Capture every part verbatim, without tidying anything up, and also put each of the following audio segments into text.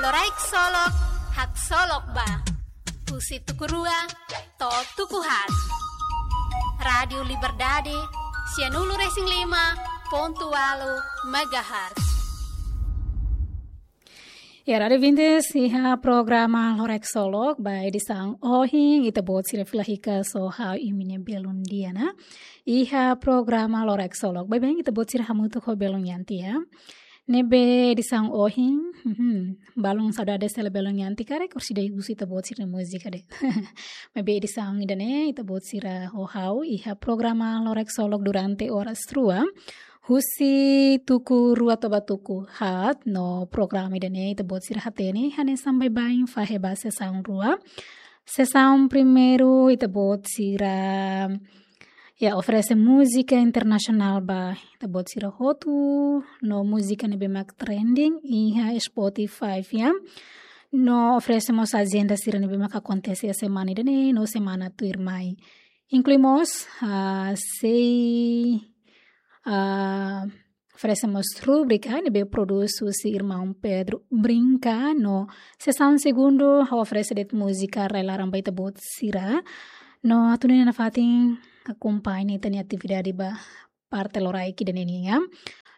Loraik Solok, haksolok ba. Husi tuku rua to'o tuku haat. Rádiu Liberdade, sianulu-resin-lima pontu ualu megahertz. Ya, rádiu ouvintes, iha programa Loraik Solok, ba edisaun ohin, ita-boot sira fila hikas ho ha'u Imine Belun Diana. Iha programa Loraik Solok, baibain ita-boot sira hamutuk ho Belun Yanti, ya. Ne'ebé edisaun ohin, mhm, balun saudades hela Belun Yanti karik, orsida husu ita-boot sira-nia múzika de'it. Maibé edisaun ida-ne'e, ita-boot sira ho ha'u, iha programa Loraik Solok durante oras rua. Husi tuku rua to'o ba tuku haat, no programa ida-ne'e ita-boot sira hatene, hanesan baibain fahe ba sesaun rua. Sesaun primeiru ita-boot sira, ya, oferese múzika internasionál ba ita-boot sira hotu, no múzika ne'ebé mak trending iha Spotify, ya. No oferese mós ajenda sira ne'ebé mak akontese iha semana ida-ne'e, no semana tuirmai. Inklui mós, ah, sei, ah, oferese mós rubrika ne'ebé produs husi irmaun Pedro Brinca, no sesaun segundu ha'u oferese de'it múzika rai-laran ba ita-boot sira. No atu nune'e nafatin akompaña ita-nia atividade ba parte loraik ida-ne'e nian.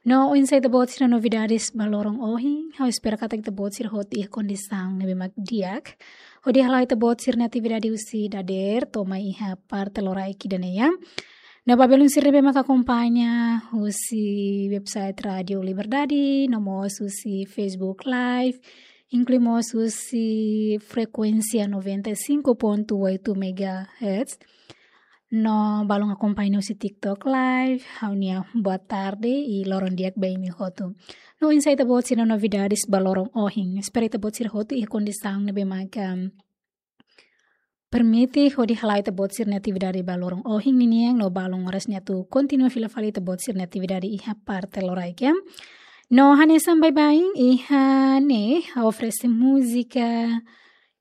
No oinsá ita-boot sira novidades ba loron ohin, ha'u espera katak ita-boot sira hotu iha kondisaun ne'ebé mak di'ak. Hodi hala'o ita-boot sira-nia atividade husi dadeer to'o mai iha parte loraik ida-ne'e, ya. No ba belun sira ne'ebé mak akompaña husi website Rádiu Liberdade, no mós husi Facebook Live, inklui mós husi frekuénsia noventa e cinco ponto oito megahertz. No balun akompaña husi TikTok Live, ha'u-nia boa tarde i loron di'ak ba imi hotu. No oinsá ita-boot sira-nia novidades ba loron ohin. Espera ita-boot sira hotu iha kondisaun ne'ebé mak, em, permite hodi hala'o ita-boot sira-nia atividade ba loron ohin ninian, no balun oras ne'e atu kontinua fila fali ita-boot sira-nia atividade iha parte loraik, ya. No hanesan baibain, iha ne'e ha'u oferese múzika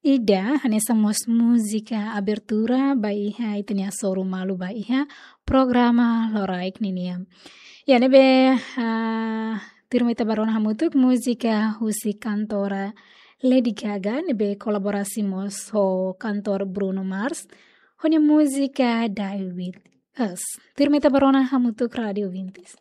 ida, hanesan mós múzika abertura ba iha ita-nia hasoru malu ba iha programa loraik ninian. Ya, ne'ebé, ah, tuirmai ita bá rona hamutuk múzika husi kantora Lady Gaga, ne'ebé kolaborasi mós ho kantór Bruno Mars, ho nia múzika Die With Us. Tuirmai ita bá rona hamutuk, rádiu ouvintes.